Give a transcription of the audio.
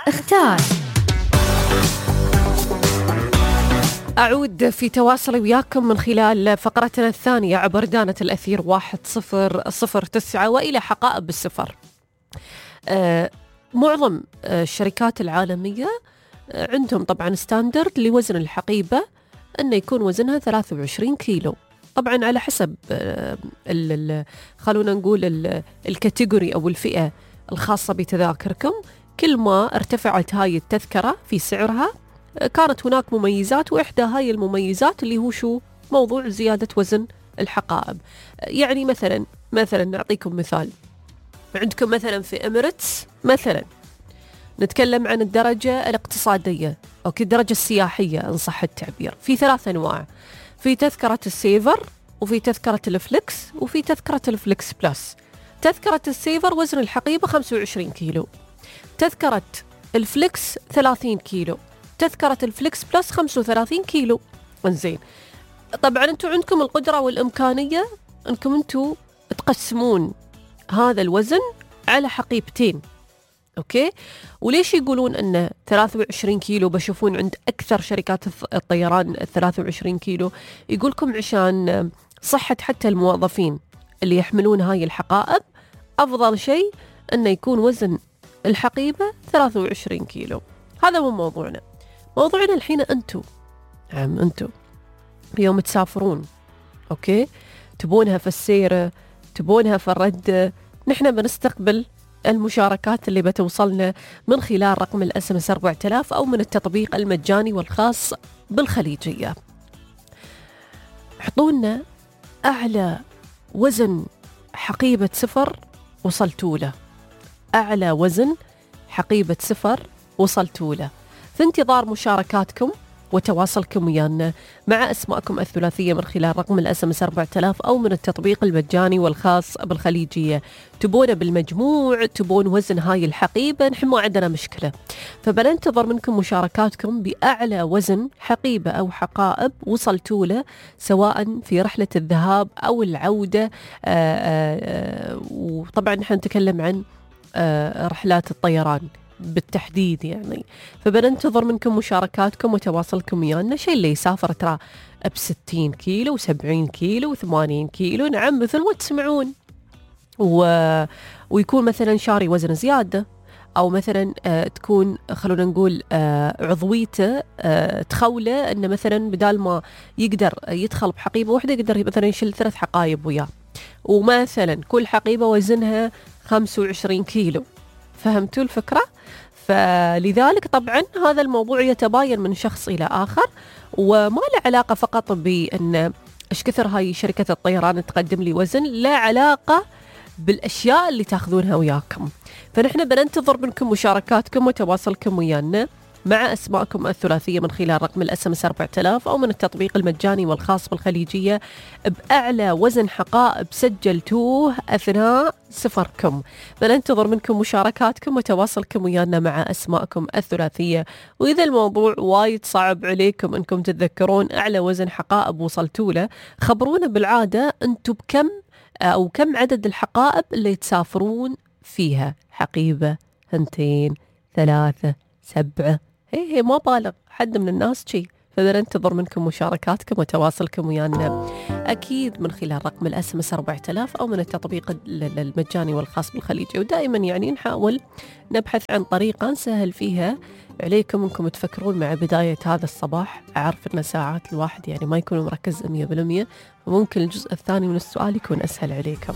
اختار. أعود في تواصلي وياكم من خلال فقرتنا الثانية عبر دانة الأثير 1009 وإلى حقائب السفر. معظم الشركات العالمية عندهم طبعا ستاندرد لوزن الحقيبة أنه يكون وزنها 23 كيلو، طبعا على حسب خلونا نقول الكاتيجوري أو الفئة الخاصة بتذاكركم. كل ما ارتفعت هاي التذكرة في سعرها كانت هناك مميزات، وإحدى هاي المميزات اللي هو شو؟ موضوع زيادة وزن الحقائب. يعني مثلا نعطيكم مثال، عندكم مثلا في إميريتس مثلا نتكلم عن الدرجة الاقتصادية أو الدرجة السياحية إن صح التعبير، في 3 أنواع، في تذكرة السيفر وفي تذكرة الفليكس وفي تذكرة الفليكس بلس. تذكرة السيفر وزن الحقيبة 25 كيلو، تذكرة الفليكس 30 كيلو، تذكرة الفليكس بلس 35 كيلو. انزين، طبعا انتم عندكم القدرة والإمكانية انكم انتم تقسمون هذا الوزن على حقيبتين. اوكي، وليش يقولون ان 23 كيلو؟ بشوفون عند اكثر شركات الطيران 23 كيلو، يقولكم عشان صحة حتى الموظفين اللي يحملون هاي الحقائب، افضل شيء انه يكون وزن الحقيبة 23 كيلو. هذا هو موضوعنا. موضوعنا الحين انتو يوم تسافرون، اوكي، تبونها في السيرة، تبونها في الرد، نحن بنستقبل المشاركات اللي بتوصلنا من خلال رقم الSMS 4000 أو من التطبيق المجاني والخاص بالخليجية. حطونا أعلى وزن حقيبة سفر وصلتوا له، أعلى وزن حقيبة سفر وصلتوا له. في انتظار مشاركاتكم وتواصلكم ويانا مع أسماءكم الثلاثية من خلال رقم الSMS 4000 أو من التطبيق المجاني والخاص بالخليجية. تبون بالمجموع، تبون وزن هاي الحقيبة، نحن ما عندنا مشكلة، فبننتظر منكم مشاركاتكم بأعلى وزن حقيبة أو حقائب وصلتوا له، سواء في رحلة الذهاب أو العودة. وطبعا نحن نتكلم عن رحلات الطيران بالتحديد يعني، فبننتظر منكم مشاركاتكم وتواصلكم ويانا. شيء اللي يسافر ترى ب60 كيلو و70 كيلو و80 كيلو، نعم مثل ما تسمعون، ويكون مثلا شاري وزن زيادة، أو مثلا تكون خلونا نقول عضويته تخوله أنه مثلا بدال ما يقدر يدخل بحقيبة واحدة يقدر مثلا يشيل 3 حقائب وياه، ومثلا كل حقيبة وزنها 25 كيلو. فهمتوا الفكرة؟ فلذلك طبعا هذا الموضوع يتباين من شخص إلى آخر، وما له علاقة فقط بأن إيش كثر هاي شركة الطيران تقدم لي وزن، لا علاقة بالأشياء اللي تاخذونها وياكم. فنحن بننتظر منكم مشاركاتكم وتواصلكم ويانا مع أسماءكم الثلاثية من خلال رقم الSMS 4000 أو من التطبيق المجاني والخاص بالخليجية بأعلى وزن حقائب سجلتوه أثناء سفركم. بننتظر منكم مشاركاتكم وتواصلكم ويانا مع أسماءكم الثلاثية. وإذا الموضوع وايد صعب عليكم أنكم تتذكرون أعلى وزن حقائب وصلتوا له، خبرونا بالعادة أنتم بكم أو كم عدد الحقائب اللي تسافرون فيها، حقيبة، 2 3 7، هي ما بالغ حد من الناس شي. فبننتظر منكم مشاركاتكم وتواصلكم ويانا أكيد من خلال رقم الSMS 4000 أو من التطبيق المجاني والخاص بالخليجي. ودائما يعني نحاول نبحث عن طريقة نسهل فيها عليكم أنكم تفكرون مع بداية هذا الصباح. أعرف أن ساعات الواحد يعني ما يكون مركز 100%، وممكن الجزء الثاني من السؤال يكون أسهل عليكم.